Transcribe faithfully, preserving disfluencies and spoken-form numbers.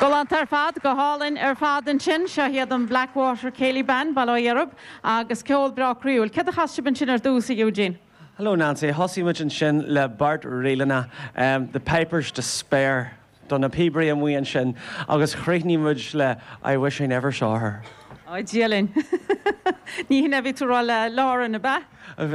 Galánta ar fad go hálainn ar fad ansin seo iad an Blackwater Céilí Band Baile Átha Dheirb agus ceol breá croíúil. Céard a chas sibh ansin ar dtús a Eugene? Hello Nancy, thosaigh muid ansin le Beart Ríleanna, um, the Pipers Despair do na píobairí amuigh ansin agus chríochnaigh muid le I wish I never saw her. Á Dia linn. Ní hin a bhí tú rá le Lauren ab ea?